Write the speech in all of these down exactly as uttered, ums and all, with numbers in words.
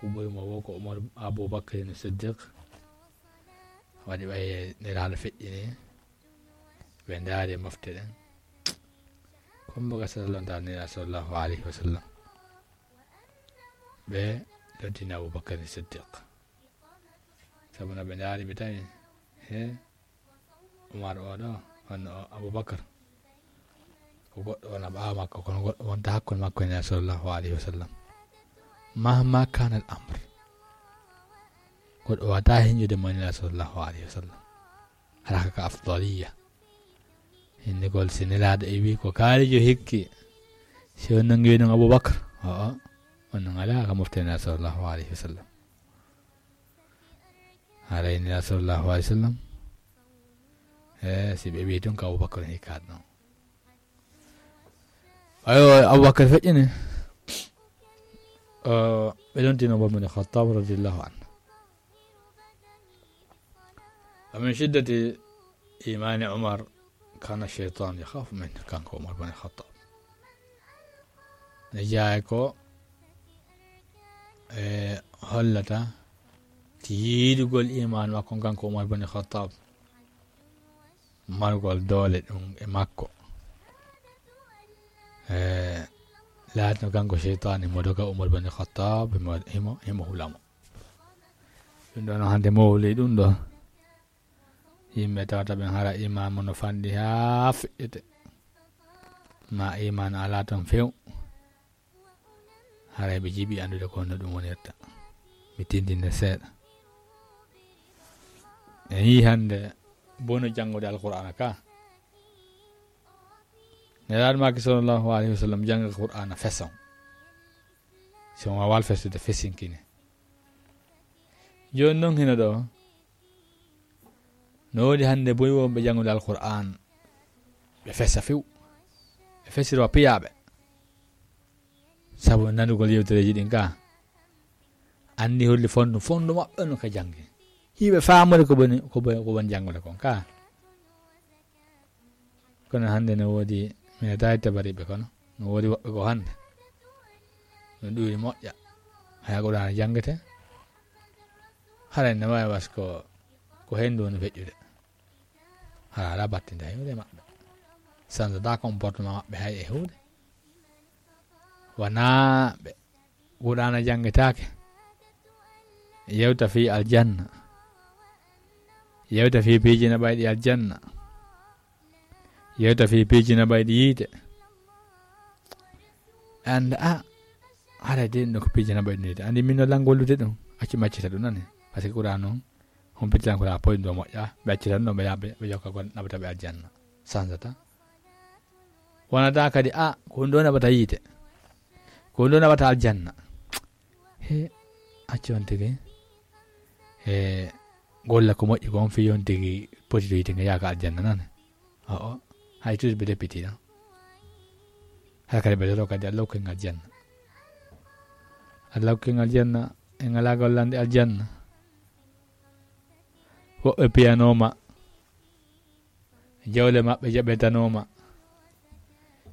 Ko ɓuri mo woo ko Umar, Abubakar Siddiq. Waɗi ɓay Nelaaɗo feƴƴini. Ɓe ndaari mofte ɗen. Kumba ka sallallahu alaihi wa sallam. Ɓe loddini Abubakar Siddiq. Sabu no ɓe ndaari ɓe tawi, he, Umar o ɗo, honno o Abubakar. Ko goɗɗo wona ɓaawo makko, kono goɗɗo wonta hakkunde makko e Nelaaɗo sallallahu alaihi wa sallam. Mahma kana al amr. Goɗɗo wata hinjude mo Nelaaɗo sallallahu alaihi wa sallam. Hara ka afdaliya. Hinnikol si Nelaaɗo e wi ko kaalijo hikki. Si on nangi ɗum Abubakar. O, o. On nan ala ka mofte Nelaaɗo sallallahu alaihi wa sallam. Haray Nelaaɗo sallallahu alaihi wa sallam. Eh, si ɓe wi ɗum ka Abubakar hikkaat non. Ayo, Abubakar feƴƴini. Eh, ɓe lontino Umar bin Khattab radiyallahu anhu. ومن شدة إيمان عمر كان الشيطان يخاف منه, kanko Umar bin Khattab. Ne jeyaa ko, e, hollata ti yiɗugol iman makko kanko Umar bin Khattab. Margol doole ɗum e makko. E, laatino kanko seytaane mo doga Umar bin Khattab, himo, himo, himo hula mo. Ɗum ɗo no hannde mowli ɗum ɗo. Yimɓe tawata ɓen hara iman mo no fanɗi haa feƴƴete. Ma iman alaa ton few. Haray ɓe jiɓi anndude ko honno ɗum wonirta. Mi tindinde seeɗa. En yii hannde bonu janngude Alqur'aana ka. Nelaaɗo maaki sallallahu alaihi wa sallam jannga Qur'aana feson. Si on waawaa fesude, fesinkine. Jooni non hino ɗo. No woodi hannde boy wonɓe janngude Alqur'aan. Ɓe fesa few. Ɓe fesiro piyaaɓe. Sabu nanugol yewtereeji ɗin ka. Anndi holli fondu, fondu maɓɓe no ka janngi. Hiɓe faamude ko boni, ko boni, ko boni janngude kon ka. Kono hannde no woodi, mi meeɗaay tabariiɓe kono, no woodi woɓɓe ko hannde. No ɗuuri moƴƴa. Haya Qur'aana janngete. Haray no waawi was ko, ko henndu woni feƴƴude. Hara alaa battinda hewde maɓɓe. Sanzataa comportement maɓɓe hay e huunde. Wanaa ɓe Qur'aana janngetaake. Yewta fii aljanna. Yewta fii piiji naɓayɗi aljanna. Yewta fii piiji naɓayɗi yiite. Annda, a, haray de ɗum ɗo ko piiji naɓayɗi yiite. Anndi min no lanngol lude ɗum. Accu mi accita ɗum nani. Parce que Qur'aana on, humpitiran ko raa poy ɗum ɗo moƴƴa. Ɓe accita ɗum ɗo ɓe yaɓe, ɓe jokka ko naɓata ɓe aljanna. Sanzataa. Wonata kadi, a, ko ɗum ɗo naɓata yiite. Ko ɗum ɗo naɓata aljanna. He, accu on tigi. He, golla ko moƴƴi ko on fii on tigi poti to yiite nga yaaka aljanna nane. O, o. Hay toujours ɓe deppiti non. Hay kadi ɓe loro kadi Allah hokki ngal janna. Allah hokki ngal janna, e ngalaa gollande aljanna. Woɓɓe piyanooma. Jawle maɓɓe jaɓetanooma.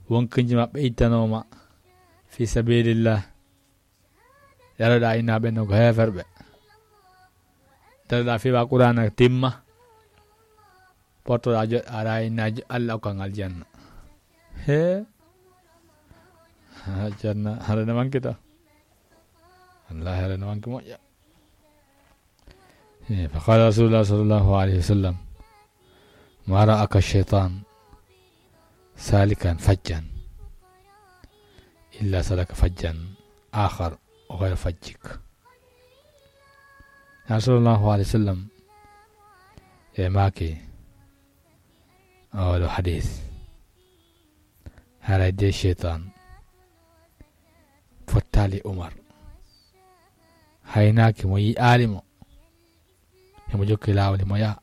Wonkinji maɓɓe ittanooma. Fii sabilillah. Yaroɗaa innaaɓe no ko heeferɓe. Daroɗaa fiwa Qur'aana timma. Pottoɗaa joɗɗaa ara innaaji Allah okka ngal janna. He. Ha, janna, hara no manki to. Wallahi hara no manki moƴƴa. Eh, فقال رسول الله صلى الله عليه وسلم: ما رآك الشيطان سالكا فجا إلا سلك فجا آخر غير فجك. Nelaaɗo sallallahu alaihi wa sallam e maaki oɗo hadis. Haray de seytaan fottaali Umar. Haynaaki mo, yi'aali mo. Himo jokki laawol, himo yaha.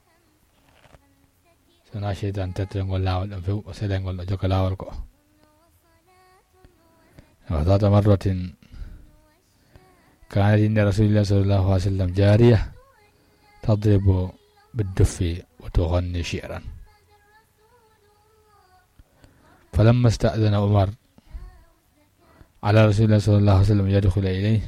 Sona seytaan tettol ngol laawol ɗon few, o selay ngol ɗo jokka laawol ko. وذات مرة كانت عند رسول الله صلى الله عليه وسلم جارية تضرب بالدف وتغني شعرا. فلما استأذن عمر على رسول الله صلى الله عليه وسلم يدخل إليه،